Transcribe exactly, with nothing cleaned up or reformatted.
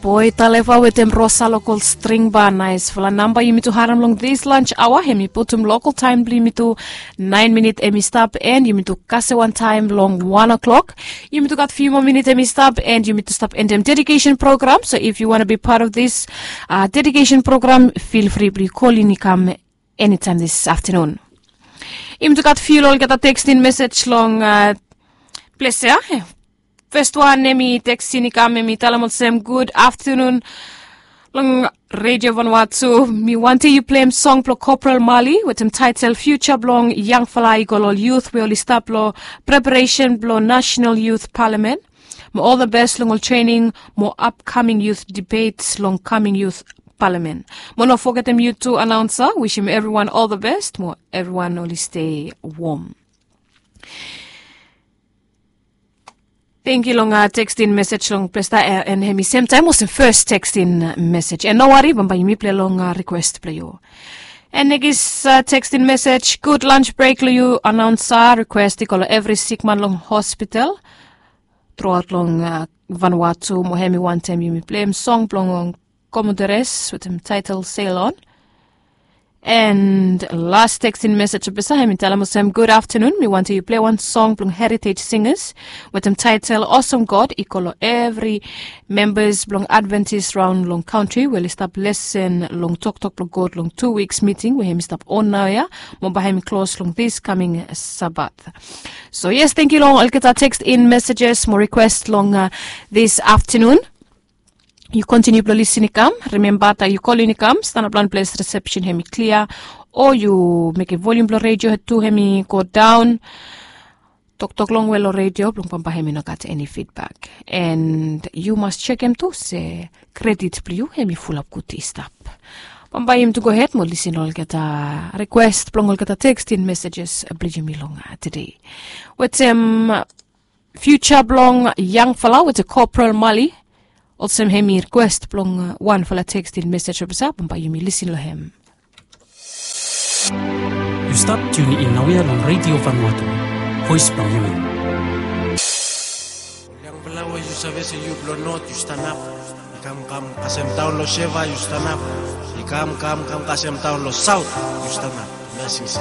Boy Taleva wetem Rosa Local String Band. Naesfala namba yumi tu harem long this lunch hour. Hemi putum local taem blong yumi tu naen minit hemi stap, and yumi tu kasem wantaem long wan o'clock. Yumi tu gat fiu moa minit hemi stap, and yumi tu stap endem dedication program. So if you wanna be part of this uh, dedication program, feel free blong yu kolin i kam anytime this afternoon. Yumi tu gat fiu long olgeta tekstin mesej long uh, ples ya. Fes wan hemi teksin i kam, hemi talem olsem, "Gud aftenun long Redio Vanuatu. Mi wantem yu pleim song blong Corporal Mali wetem taetel Future blong Yangfala i go long ol yut we oli stap long preparesen blong National Youth Parliament. Mo ol the best long ol trening mo upcoming youth debates long coming youth parliament. Mo no fogetem yu tu, anaonsa. Wisim evriwan ol the best mo evriwan oli stei wom." Tangkiu long uh, tekstin mesej long ples ya, and hemi semtaem olsem fes tekstin mesej. And no wari, bambae yumi pleim long uh, rikwes blong yu. And nekis uh, tekstin mesej, "Gud lunch brek long yu, anaonsa. Rikwes i go long evri sikman long hospital truaot long uh, Vanuatu, mo hemi wantem yumi pleim song blong Commodores wetem taetel Sail On." And las tekstin mesej blong ples ya, hemi talem olsem, "Gud aftenun. Mi wantem yu pleim wan song blong Heritage Singers wetem taetel Awesome God i go long evri membas blong Adventist raon long kantri we oli stap lesen long toktok blong God long tu wiks miting we hemi stap on naoia, mo bae hemi klos long this coming Sabat." So yes, tangkiu long olgeta tekstin mesejes mo rikwes long uh, this aftenun. Yu kontiniu blong lisin i kam. Rimemba taem yu kolin i kam, stanap long ples, risepsen hemi klia, o yu mekem volium blong redio tu hemi go daon. Toktok longwe long redio blong bambae hemi no gat eni fidbak. And yu mas jekem tu se kredit blong yu hemi fulap gud i stap. Bambae yumi tu gohed mo lisin long olgeta rikwes blong olgeta tekstin mesejes blong yumi long uh, tede. Wetem Future blong Yangfala wetem Corporal Mali. Olsem hemi rikwes blong uh, wanfala tekstin mesej blong ples ya, bambae yumi lisin long hem. Yu stap tiunin naoia long Redio Vanuatu, voes blong yumi. Ol yangfala we yu save se yu blong not, yu stanap. I kam kam kasem taon long Seva, yu stanap. I kam kam kam kasem taon long Saot, yu stanap. Blesings.